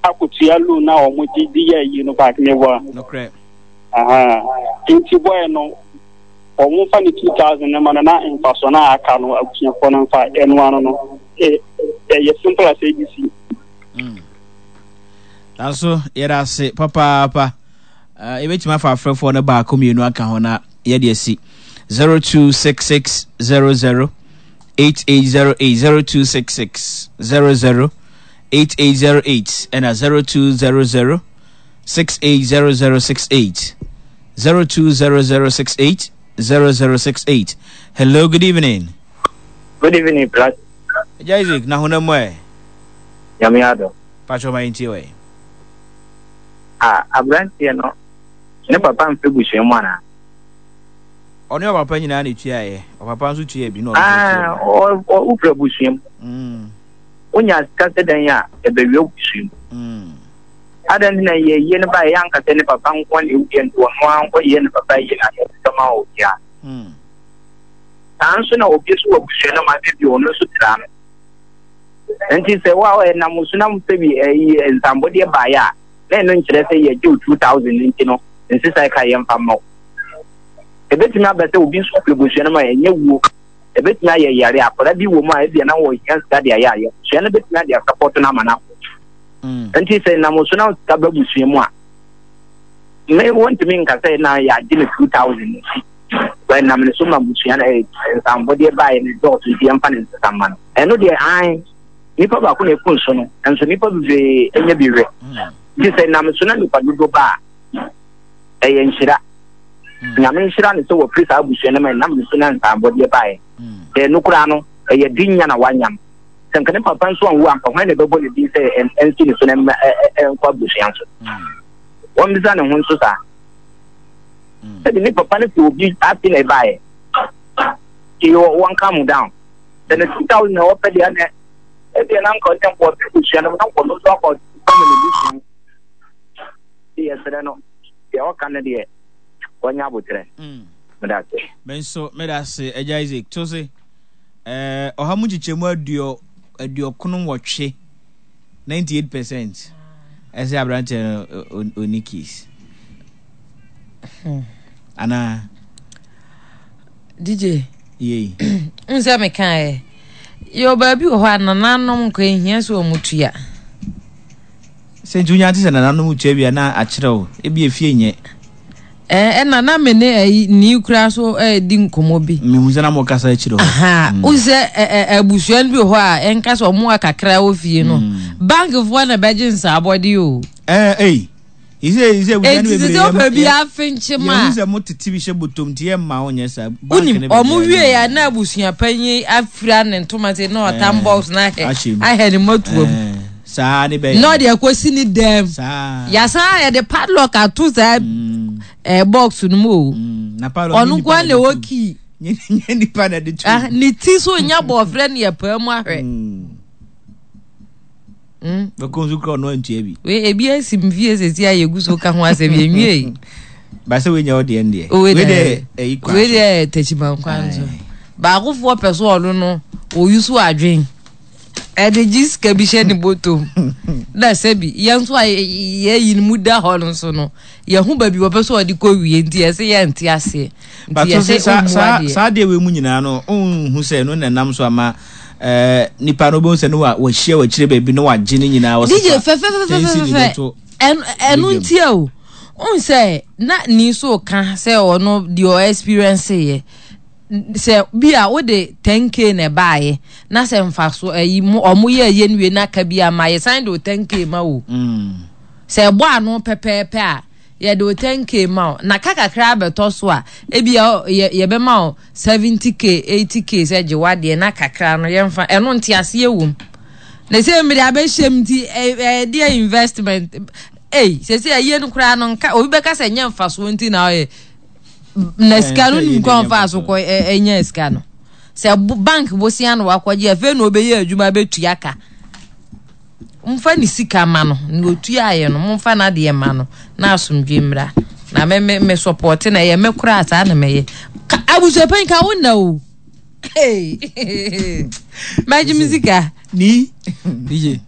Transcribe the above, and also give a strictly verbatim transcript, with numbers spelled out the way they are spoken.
Akotua loan na wɔn gye de yɛ ayi no back ne bɔ. Nokorɛ. Aha. Nti boy no, wɔn fa ne two thousand ne ma no, na mfasoɔ na aka no, abusuafoɔ no nfa ɛno ano no. ɛ ɛyɛ simple as A B C. Mm. Nanso yɛda ase papaapa. uh, yɛbɛtumi afa afrɛfoɔ no baako mmienu aka ho na yɛde asi zero two six six zero zero eight eight zero eight, zero two six six zero zero eight eight zero eight, ɛna zero two zero zero six eight zero zero six eight, zero two zero zero six eight zero zero six eight. Hello, good evening. Good evening, Plat. Agya Isaac, na honam mu ɛ? Nyame adɔ. Patwɛ ma yɛntie wɛ. Ah, aberanteɛ no, ne papa mfɛ busua mu anaa? Ɔne ɔpapa nyinaa na etuaeɛ. Ɔpapa nso tua bi na ɔno nso Ah, tua bi. ɔ- ɔ- wofura busua mu. Mm, Wonya sika sɛ dɛn a, ɛbɛwia wo busua mu. mm, Adɛn nti na yɛyie no ba yɛ ankasa ne papa nko na ɛwuiɛ, nti ɔno ara nkɔyɛ ne papa yie na yɛsesa ma obiara? mm. Saa nso na obi nso wɔ busua no ma bi, ɔno nso tra no. Nti sɛ wa ɛnam so nam sɛ bi ɛyi nsambɔdeɛ baeɛ a, na ɛno nkyerɛ sɛ yɛgye wo two thousand nti no nsesa ka yɛmfa mma wo. Ebetumi aba sɛ obi nso firi busua no mu a ɛnyɛ wuo, ebetumi ayɛ yare, akwadaa bi wɔ mu a ebia na wɔhia sika de ayɛ ayɛ busua no betumi ade asapɔto no ama no akɔ. Mm. Nti sɛ nam so na sika ba busua mu a, me wɔntumi nka sɛ na yɛagye no two thousand nti wɔnam ne so ma busua no ɛɛ nsambɔdeɛ baeɛ no dɔɔso nti yɛmfa ne nsesa mma no. Ɛno deɛ, an nipa baako na eku nso no, nso nipa bebree anya bi hwɛ. Mm. Nti sɛ nam so na nipa dodo ba a, ɛyɛ nhyira. Mm. Nyame nhyira ne sɛ wɔfiri saa abusua no ma ɛnam ne so na nsambɔdeɛ baeɛ. Mm. Sɛ ɛno koraa no, ɛyɛ din nya na wanya no. Sɛ nka ne papa nso anwu anka, hwan na ɛbɛbɔ ne din sɛ ɛn- ɛnsi ne so na ɛmma ɛ- ɛ- ɛnkɔ abusua so? Mm. Wɔmmisa ne ho nso saa. Mm. Sɛde ne papa no fi obi ase na ɛbaeɛ nti wɔ- wɔn calm down. Sɛ ne two thousand na wɔpɛ deɛ, ɛnɛ ɛdeɛ na nka ɔnyɛ nkɔ ɔfiri busua no mu na nkɔ no nso akɔ kɔm ne busua mu. Nti yɛsrɛ no, deɛ ɔka no deɛ, wɔnyɛ abotrɛ. Mm. Meda ase. Me nso meda ase, Agya Isaac. To se ɛɛ ɔha mu nkyekyɛmu aduɔ aduɔkono nwɔtwe, ninety eight percent, ɛsɛ aberanteɛ no ɔ- ɔ- ɔni case anaa? D J. Yei. N sɛ mekaeɛ, yɛwɔ baabi wɔ hɔ a nananom nkɔ ehia sɛ ɔmo tua. Sɛ nti wonya te sɛ nananom tua bi a, na akyerɛ wo ebi efie nyɛ. Ɛɛ ɛna na me ne ɛyi nii kura so ɛɛdi nkɔmɔ bi. Mehu sɛ na mo kasa akyerɛ hɔ. Aha, wo sɛ ɛ ɛ abusua no bi wɔ hɔ a ɛnka sɛ ɔmo akakra wɔ fie no, bankfoɔ na bɛgye nsaabɔde o. ɛɛ ɛyi isɛ isɛ abusua no Eti bebree sɛ ɔpɛ bi afenkye ma yɛhu sɛ mo tete bi hyɛ bɔtɔm nti yɛ mma wo nyɛ saa bank wonim ne ɔmo baabi a wie ya na abusua panyin afira ne ntoma sɛ na ɔtam Ɛɛ, box na ahɛ ahyɛ mu. Ahɛ ne mɔtoa mu. Ɛɛ, saa ne bɛyɛ. Na ɔde akɔsi ne dɛm. Saa. Yasan yɛde padlock ato saa Mm, ɛɛ box no mu o. mm, na padlock Ɔno nyɛ nko ara nipa na ɛwɔ de to. key. Nyɛ nyɛ nipa na de to. Ah, ne ti so nya bɔɔfrɛ ne yɛ paa mu ahwɛ. Mm. Mm. Bɛkɔ nso kura ɔno antua bi. Wei ebi esi mfie sesi a yɛgu so ka ho asɛm, yɛnwie yi. Baasa wei nyɛ ɔdeɛ ndeɛ. Wei wei deɛ deɛ ɛyi kwan wei so. Deɛ tɛkyiman kwan so. Aye. Baakofoɔ pɛ so ɔno no oyi so adwen ɛde gye sika bi hyɛ ne bɔtɔm, na sɛbi yɛn nso a yɛyi no mu da hɔ no nso no, yɛho baabi wɔpɛ so ɔde kɔ wie, nti yɛsɛ yɛnte aseɛ nti Bato yɛsɛ sɛ saa ɔmmu saa adeɛ. Saa deɛ wei mu nyinaa no, ɔnhu sɛ ɛno na ɛnam so ama ɛɛ nipa no, wobɛhu sɛ no wa wahyia wakyire baabi na wagye ne nyinaa wɔsɛ D J fa ten cedi fɛfɛfɛfɛfɛ bɛto ɛno ɛno badwam. Nti o n sɛ na ni so ka sɛ ɔno deɛ ɔ experience yɛ sɛ bi a wode ten k na ɛbaayɛ na sɛ nfa so ɛyi mo ɔmo yɛ ɛyɛ no wie na aka bi ama yɛ san de o ten k ma o. Mm. Sɛ ɛbɔ ano pɛpɛɛpɛ a, yɛde o ten k ma o, na ka kakra abɛtɔ so a, ebi a yɛ yɛbɛma o seventy k, eighty k sɛ gye wadeɛ na kakra no yɛmfa ɛno. Nte aseɛ wɔ mu na sɛ mmiri abɛhyɛ mu nti ɛ ɛyɛ deɛ investment ei sɛ sɛ ɛyɛ no koraa no, nka obi bɛka sɛ nyɛ mfasoɔ nti na ɔyɛ na sika no sɛ nim yɛ kwan deɛ fa so kɔ ɛ ɛnyɛ sika no sɛ bo- bank bosia no wakɔgye, afei na ɔbɛyɛ adwuma bɛtua ka. Momfa ne sika ma no na otua ayɛ no, momfa n'adeɛ ma no na asomdwe mmra. Na me me me support na ɛyɛ me koraa saa na mɛyɛ. Ka abusuapanyin ka wo na o. Hey, mɛgye me sika. Ni D J.